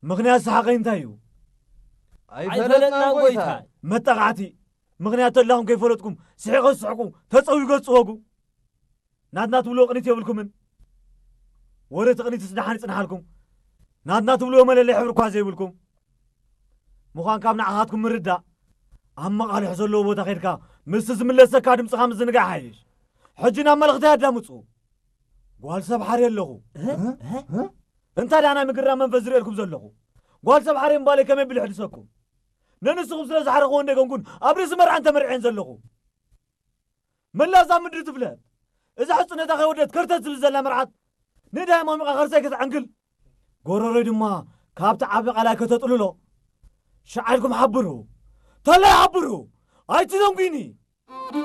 ምኽንያት ሰሓቐይ እንታይ እዩ? ኣይፈለጥናን ጎይታይ። መጠቓዕቲ። ምኽንያት ተላኹም ከይፈለጥኩም ስሒቐ ዝስሕቁ፣ ተጸዊገ ዝጽወጉ። ናትና ትብልዎ ቅኒት የብልኩምን። ወረ እቲ ቅኒትስ ደሓን ይጽንሓልኩም። ናትና ትብልዎ መለለይ ሕብሪ እኳ ዘይብልኩም። ምዃን ካብ ንዓኻትኩም ምርዳእ፣ ኣብ መቓልሕ ዘለዎ ቦታ ኸይድካ ምስቲ ዝምለሰካ ድምፅኻ ምዝንጋዕ ሓይሽ። ሕጂ ናብ መልእኽተይ ኣዳምፁ። ጓል ሰብ ሓርየ ኣለኹ። እንታይ ደኣ ናይ ምግራ መንፈስ ዝርእየልኩም ዘለኹ? ጓል ሰብ ሓርየ ምባለይ ከመይ ብልሕ ድሰኩም? ነንስኹም ስለ ዝሓረኽዎ እንደገንኩን ኣብ ርእሲ መርዓን ተመርዕን ዘለኹ። መላእ እዛ ምድሪ ትፍለጥ። እዛ ሕፅነታ ከይወደት ከርተት ዝብል ዘላ መርዓት ንዳይ ሞሚቓ ከርሰይ ክትዕንግል፣ ጎረሮይ ድማ ካብቲ ዓቢ ቃላይ ከተጥልሎ። ሸዓልኩም ሓብሩ፣ ተላይ ሓብሩ፣ ኣይትዘንጉኒ።